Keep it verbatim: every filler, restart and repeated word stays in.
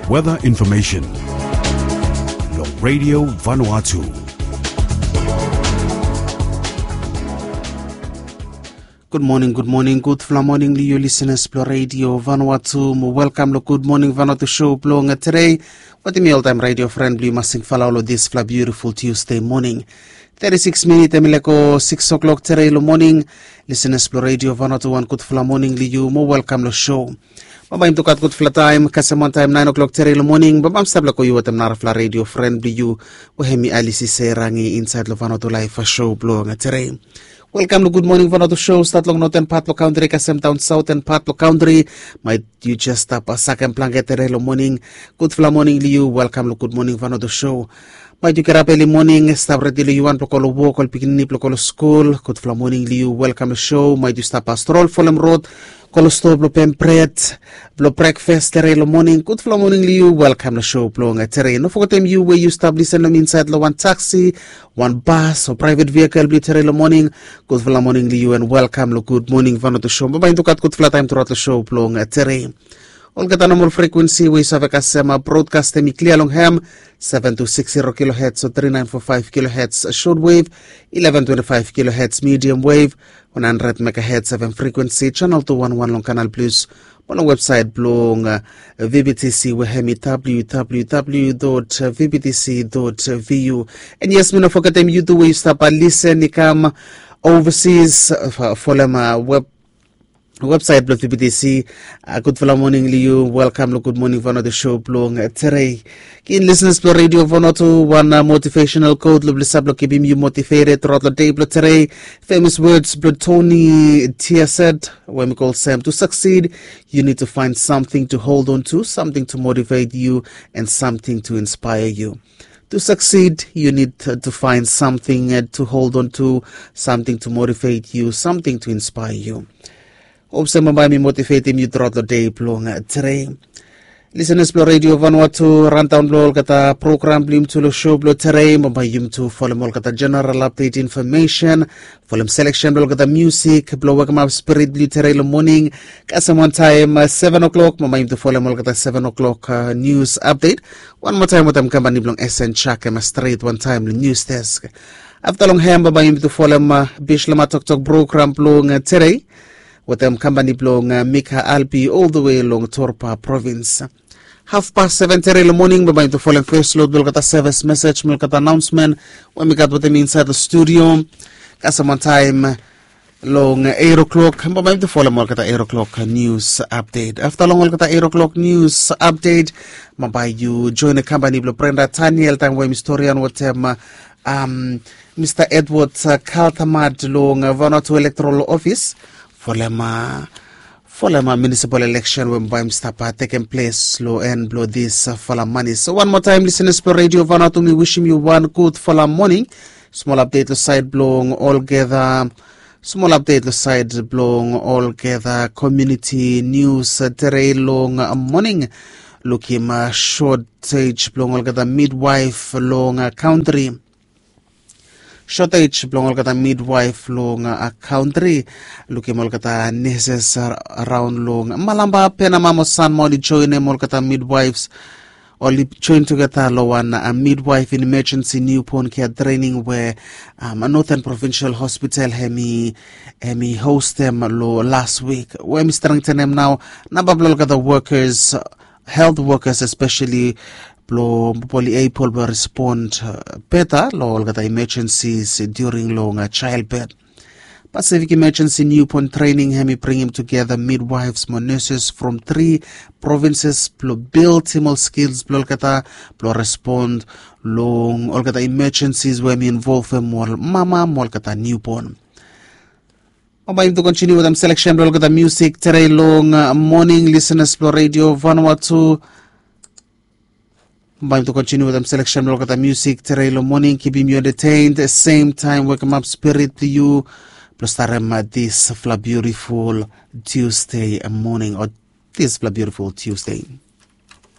Weather information. Long Radio Vanuatu. Good morning, good morning, gudfala moning long yu listeners blong Radio Vanuatu. Mo welkam long Good Morning Vanuatu show blong today. Wetem mi oltaem radio friend blong yu Masing Falau long disfala beautiful Tuesday morning. Thirty-six minit em i lego six o'clock today long morning. Listeners blong Radio Vanuatu, wan gudfala moning long yu mo welkam long show. Bambae yumi tu gat gudfala taem kasem wantaem naen o'clock today long morning. Bambae mi stap lego yu wetem narafala radio friend blong yu we em i Alisi Serangi insaed long Vanuatu Laef show blong today. Welkam long Good Morning Vanuatu show. Stat long noten pat blong kantri kasem daon saoten pat blong kantri. Maet yu jes stap sakem blanket today long morning. Gudfala moning long yu, welkam long Good Morning Vanuatu show. Maet yu gerap eli moning, stap redi long yu wan blong go long wok, ol pikinini blong go long skul. Gudfala moning long yu, welkam long show. Maet yu stap strol folem rod, go long stoa blong pem bred blong brekfas today long morning. Gudfala moning long yu, welkam long show blong today. No fogetem yu we yu stap lisen long mi insaed long wan taksi, wan bas o praevet vehikel blong yu today long morning. Gudfala moning long yu and welkam long Good Morning Vanuatu show. Bambae yumi tu gat gudfala taem truaot long show blong today. Olgeta nomol frekuensi we yu save kasem brodkastem i klia long hem, seven two six zero kilohertz o three nine four five kilohertz shortwave, eleven twenty-five kilohertz medium wave, one hundred megahertz F M frekuensi, channel two one one long Canal Plus, mo long websaet blong V B T C we em i W W W dot V B T C dot V U. And yes, mi no fogetem yu tu we yu stap lisen i kam overseas, folem web websaet blong V B T C. Gudfala moning long yu, welkam long Good Morning Vanuatu show blong today. Givim listeners blong Radio Vanuatu wan motivational quote long blisa blong kipim yu motivated truaot long dei blong today. Famous words blong Tony Tiaset we mi call Sam, to succeed, you need to find something to hold on to, something to motivate you, and something to inspire you. To succeed, you need to find something to hold on to, something to motivate you, something to inspire you. Hop se bambae mi motivetim yu truaot long dei blong today. Listeners blong Radio Vanuatu, randaon blong olgeta program blong yumi tu long show blong today. Bambae yumi tu folem olgeta general update information, folem selection blong olgeta musik blong wekemap spirit blong yu today long morning. Kasem wantaem seven o'clock, bambae yumi tu folem olgeta seven o'clock news update. Wan moa taem wetem kampani blong S N Chak em stret wantaem long news desk. Afta long hem bambae yumi tu folem Bislama Toktok program blong today wetem kampani blong Mika Albi ol the way long Torpa provins. Hafpas seven today long morning bambae yumi tu folem fes lod blong olgeta sevis mesej mo olgeta anaonsmen we mi gat wetem mi insaed long studio. Kasem wantaem long eight o'clock bambae yumi tu folem olgeta eight o'clock news update. Afta long olgeta eight o'clock news update bambae yu joenem kampani blong Brenda Taniel taem we mi storian wetem Mista Edward Kaltamad long Vanuatu Electoral Office folem folem municipal election we bambae yumi stap tekem ples long en blong disfala mani. So wan moa taem listeners blong Radio Vanuatu, mi wisim yu wan gudfala moning. Smol update long saed blong olgeta smol update long saed blong olgeta community news today long morning. Lukim shortage blong olgeta midwife long kantri. Shortage blong olgeta midwife long kantri. Lukim olgeta nurses araon long Malampa, Penama mo Sanma oli joenem olgeta midwives oli joen tugeta long wan midwife in emergency newborn care training we Northern Provincial Hospital hem i hostem long las wik, we hem i strengtenem nao namba blong olgeta workers, health workers especially, blong oli able blong respond beta long olgeta emergencies during long childbirth. Pacific Emergency Newborn Training hem i bringim tugeta midwives mo nurses from tri provinces blong bildim ol skils blong olgeta blong respond long olgeta emergencies we hem i involvem ol mama mo olgeta newborn. Bambae yumi tu kontiniu wetem selection blong olgeta musik today long morning, listeners blong Radio Vanuatu. Bambae yumi tu kontiniu wetem selection blong olgeta musik today long morning, kipim yu entertained, same time wekemap spirit blong yu blong starem disfala beautiful Tuesday morning o disfala beautiful Tuesday.